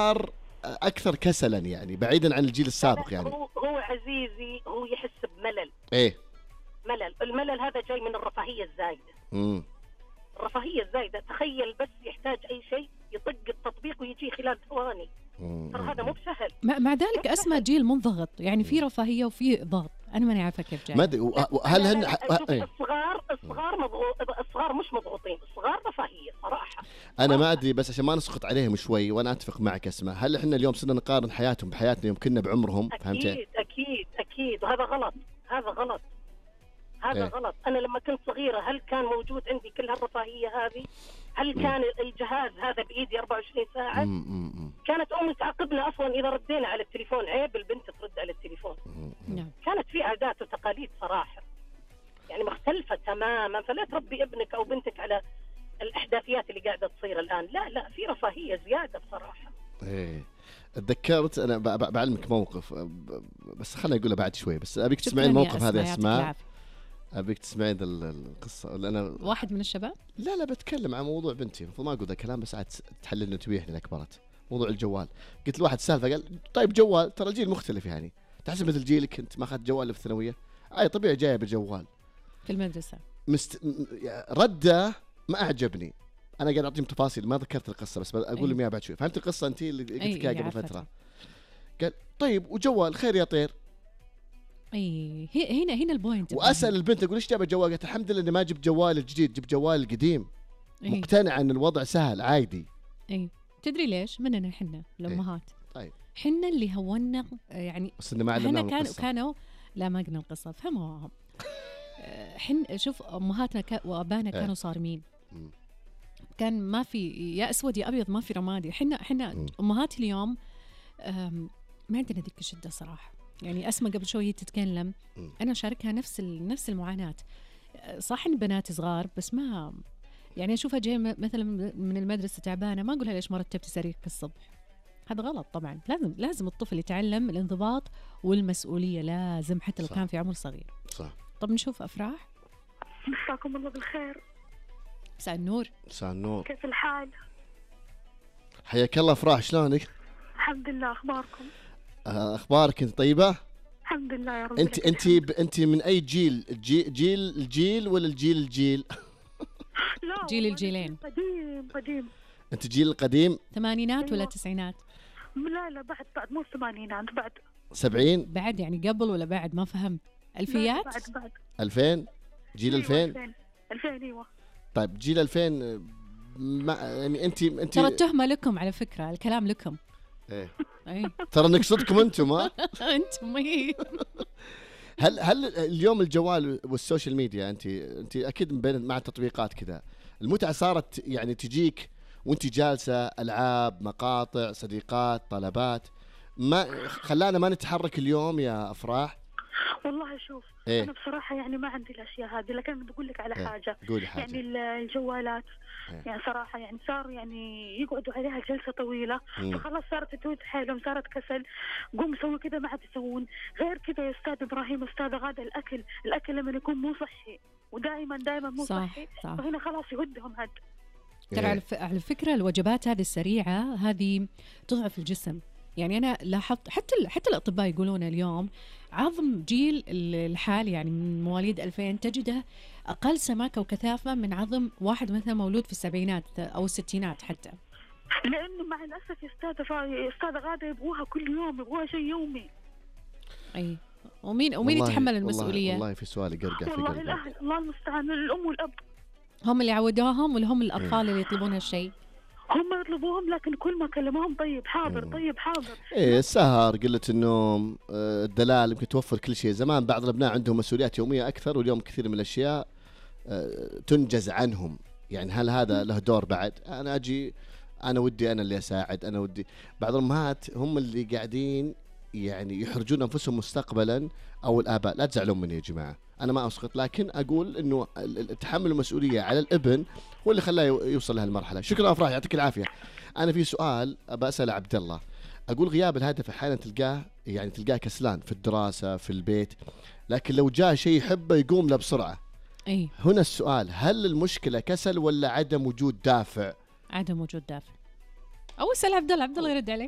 صار أكثر كسلا يعني بعيدا عن الجيل السابق يعني. هو عزيزي هو يحس بملل. إيه الملل هذا جاي من الرفاهية الزايدة. الرفاهية الزايدة، تخيل بس يحتاج أي شيء يطق التطبيق ويجي خلال ثواني. ترى هذا مو بسهل. مع ذلك أسمى جيل منضغط، يعني في رفاهية وفي ضغط. أنا ماني عارفة كيف جاي. ما أدري هل هن الصغار مش مضغوطين، الصغار رفاهية صراحة. أنا ما أدري، بس عشان ما نسقط عليهم شوي، وأنا أتفق معك أسماء، هل إحنا اليوم صرنا نقارن حياتهم بحياتنا يوم كنا بعمرهم؟ فهمتي؟ أكيد وهذا غلط. غلط. أنا لما كنت صغيرة هل كان موجود عندي كل هالرفاهية هذه؟ هل كان الجهاز هذا بإيدي 24 ساعة؟ كانت أمي تعاقبنا أصلا إذا ردينا على التليفون، عيب البنت ترد على التليفون. كانت في عادات وتقاليد صراحة يعني مختلفة تماما، فلا تربي ابنك أو بنتك على الأحداثيات اللي قاعدة تصير الآن. لا في رفاهية زيادة بصراحة. إيه تذكرت أنا بعلمك موقف، بس خلنا نقوله بعد شوي، بس أبيك تسمعين الموقف هذا يا أسماء. أبيك تسمعين القصة اللي أنا واحد من الشباب. لا بتكلم عن موضوع بنتي، المفروض ما أقول ذا الكلام، بس عاد تحلل نتويحني لأكبرت. موضوع الجوال، قلت لواحد سالفة، قال طيب جوال، ترى الجيل مختلف يعني، تحسب مثل جيلك أنت ما أخذت جوال في الثانوية، أي طبيعي جاية بجوال في المدرسة. رده ما أعجبني. أنا قاعد أعطيهم تفاصيل، ما ذكرت القصة بس أقول لهم إياها بعد شوي. فهمت القصة أنتي اللي قلت لك قبل فترة؟ قال طيب وجوال خير يا طير. هنا البوينت. وأسأل البنت أقول إيش جاب جوال؟ قالت الحمد لله إني ما جبت جوال الجديد، جبت جوال القديم. مقتنع أن الوضع سهل عادي. تدري ليش؟ مننا حنا الأمهات. طيب حنا اللي هونا يعني، بس إن ما علمناهم كانوا لا ما قلنا القصة، فهموهم. شوف أمهاتنا وأبانا كانوا صارمين. كان ما في يا أسود يا أبيض، ما في رمادي. حنا أمهات اليوم ما عندنا ذيك الشدة صراحة. يعني أسمى قبل شوية تتكلم، أنا شاركها نفس المعاناة. صح إن بنات صغار، بس ما يعني أشوفها جاية مثلا من المدرسة تعبانة، ما أقولها ليش ما رتبتي سريرك الصبح. هذا غلط طبعا. لازم الطفل يتعلم الانضباط والمسؤولية، لازم حتى لو كان في عمر صغير. صح. طب نشوف أفراح. مساكم الله بالخير. مساء النور. مساء النور. كيف الحال؟ حياك الله أفراح، شلونك؟ الحمد لله. أخباركم؟ أخبارك أنت طيبة؟ الحمد لله يا رب. أنت من أي جيل؟ الجيل ولا الجيل؟ لا جيل الجيلين. قديم. أنت جيل القديم؟ ثمانينات ولا تسعينات؟ لا بعد مو الثمانينات، بعد 70 بعد، يعني قبل ولا بعد؟ ما فهمت. ألفيات؟ بعد 2000 جيل 2000 أيوة. طيب جيل 2000 يعني أنت ترى التهمة لكم على فكرة، الكلام لكم. إيه أي ترى نقصدكم أنتم. أنتم هل اليوم الجوال والسوشيال ميديا، أنت أكيد مع التطبيقات كذا، المتعة صارت يعني تجيك وأنت جالسة، ألعاب، مقاطع، صديقات، طلبات، ما خلانا ما نتحرك اليوم يا أفراح؟ والله شوف، أنا بصراحة يعني ما عندي الأشياء هذه، لكن أنا بقول لك على حاجة. يعني الجوالات يعني صراحة يعني صار يعني يقعدوا عليها جلسة طويلة، فخلاص صارت تتوت حالهم، صارت كسل. قوم سوي كذا ما عاد يسوون. غير كذا يا أستاذ إبراهيم، أستاذ غادة، الأكل لما يكون مو صحي ودائما مو صحي، فهنا خلاص يهدهم هد. ترى على فكرة الوجبات هذه السريعة هذه تضعف الجسم. يعني أنا لاحظت حتى الأطباء يقولون اليوم عظم جيل الحالي، يعني من مواليد 2000 تجده أقل سماكة وكثافة من عظم واحد مثلا مولود في السبعينات أو الستينات حتى. لأنه مع الأسف يا أستاذ غادة يبغوها كل يوم، يبغوها شيء يومي. أي ومين يتحمل المسؤولية؟ والله في سؤال قرقع في والله الأهل، الله المستعان، الأم والأب هم اللي عودوهم، ولا هم الأطفال اللي يطلبون هالشيء؟ هم يطلبوهم، لكن كل ما كلموهم طيب حاضر طيب حاضر. إيه السهر، قلة النوم، الدلال، يمكن توفر كل شيء. زمان بعض الأبناء عندهم مسؤوليات يومية أكثر، واليوم كثير من الأشياء تنجز عنهم. يعني هل هذا له دور بعد؟ أنا ودي أنا اللي أساعد، أنا ودي. بعض الأمهات هم اللي قاعدين يعني يحرجون أنفسهم مستقبلا، أو الآباء. لا تزعلون مني يا جماعة، أنا ما أسقط، لكن أقول إنه تحمل المسؤولية على الابن هو اللي خلاه يوصل لهالمرحلة. شكرا أفراح، يعطيك العافية. أنا في سؤال بسأل عبد الله، أقول غياب الهدف أحيانا تلقاه كسلان في الدراسة في البيت، لكن لو جاء شيء يحبه يقوم له بسرعة. هنا السؤال، هل المشكلة كسل ولا عدم وجود دافع؟ عدم وجود دافع. أو اسأل عبد الله يرد عليك.